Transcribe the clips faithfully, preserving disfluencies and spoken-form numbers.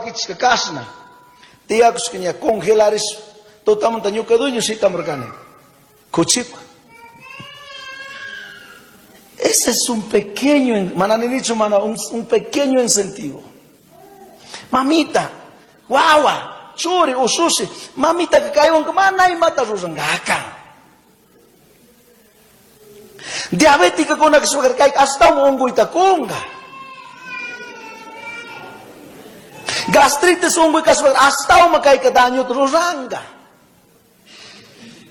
wakichishka kashna. Tiyakushka ña congelarish tutamanta ñuka dueño shitamurkani. Kuchipa. Ese es un pequeño, mana ninichu mana, un, un pequeño incentivo. Mamita, guagua, churi, usushi, mamita que kaywan mana imata rurangaka. Diabética con la que se kay hasta un unguyta kunga. Gastritis unguy kaswa hasta un kay ka daño ruranga.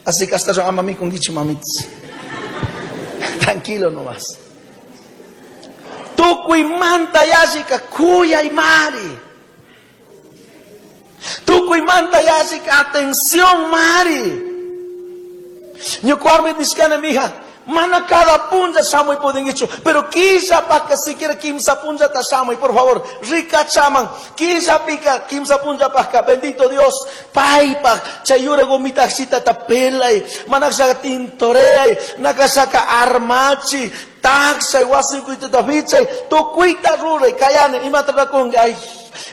Así que hasta yo ama mi con dicho mamitas. Tranquilo nomás. Tukuy manta yashika kuya y mari. Tukuy manta yashika atención mari. Ñukuarmi nishkana mija. Mana cada punja shamuy pudingichu, pero quilla paca siquiera quimsa punja ta shamuy, por favor, rica chaman, quilla pica, quimsa punja paca, bendito Dios, paipa, chayura gomita xita tapelay, manakshaka tintoreay, nakashaka armachi, taxay, wasikuita tafichay, tukuita ruray, kayane, imatra ay.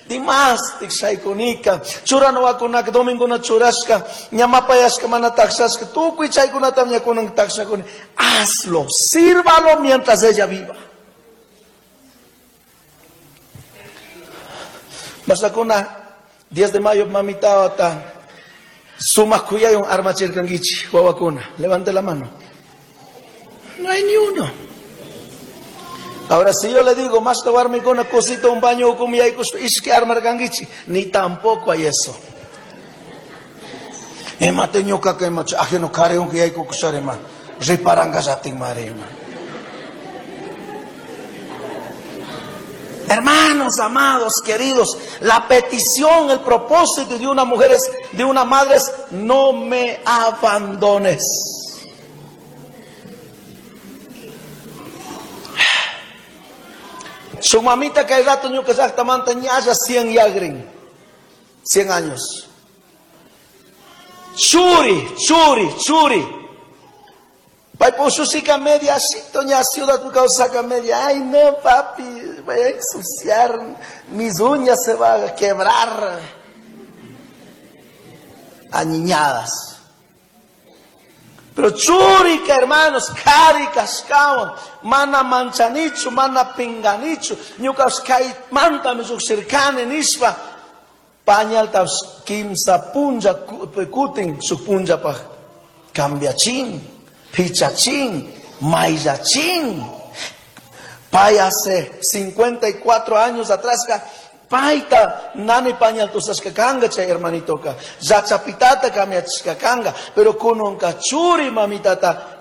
Dimas tikshaykunika churanawakunaka dominguna churashka ñamapayashka mana taxashka tukuy chaykunatam ñakunan taxakuni. Hazlo, sírvalo mientras ella viva. Masakuna diez de mayo mamita ata sumaq kuyaywan armachirkankichik wawakuna. Levante la mano. No hay ni uno. Ahora, si yo le digo, más con una cosita, un baño, ishki armarkangichi, ni tampoco hay eso. Emate ñuka que macho, ajeno kareun que hay kukusarema, riparanga yatin marema. Hermanos amados, queridos, la petición, el propósito de una mujer es, de una madre es, no me abandones. Su mamita que hay rato ñuka llaqtamanta ñalla cien yagrin, cien años. Churi, churi, churi. Paipo media, ña ciudad saca media. Ay no papi, voy a ensuciar, mis uñas se van a quebrar. Aniñadas. Pero churica, hermanos, caricas, kawan, mana manchanichu, mana pinganichu, ñukas kay manta misuk sirkani nishpa, pañal tas kimsa punja kutin su punja pa cambiachin, pichachin, mayachin. Pay hace cincuenta y cuatro años atrás, paita nani pañal tusashka kanga chay hermanito ka zachapitata kamiachka kanga, pero kunonka churi mamitata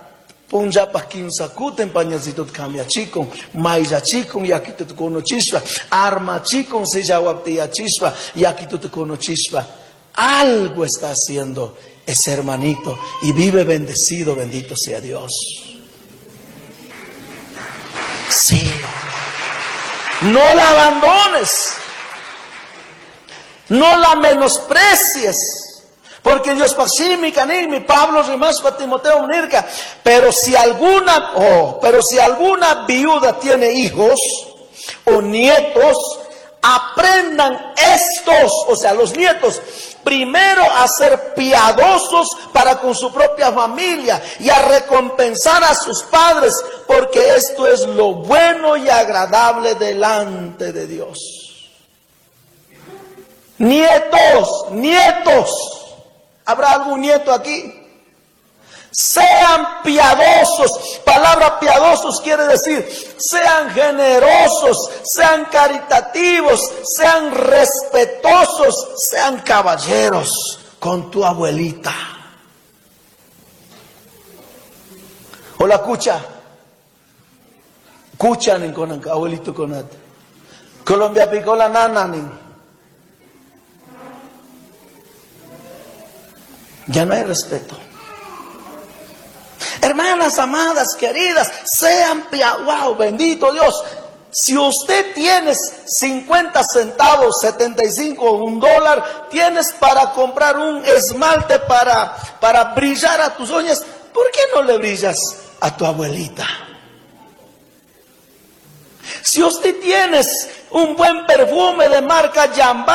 punjapa kimsa kuten pañalcito kamiachikon mayachikon yakituta kunochispa armachikon sillawaptiyachispa yakituta kunochispa. Algo está haciendo ese hermanito y vive bendecido, bendito sea Dios. Sí, no la abandones. No la menosprecies, porque Dios pasimi canimi Pablo rimaspa Timoteo nirka. Pero si alguna, oh, pero si alguna viuda tiene hijos o nietos, aprendan estos, o sea, los nietos, primero a ser piadosos para con su propia familia y a recompensar a sus padres, porque esto es lo bueno y agradable delante de Dios. Nietos, nietos, ¿habrá algún nieto aquí? Sean piadosos. Palabra piadosos quiere decir, sean generosos, sean caritativos, sean respetuosos, sean caballeros con tu abuelita. Hola, cucha. Cucha nin con abuelito con Colombia picó la nana nin. Ya no hay respeto. Hermanas amadas, queridas, sean piadosos. Wow, bendito Dios. Si usted tiene cincuenta centavos, setenta y cinco, un dólar, tienes para comprar un esmalte para, para brillar a tus uñas, ¿por qué no le brillas a tu abuelita? Si usted tiene un buen perfume de marca Jambal,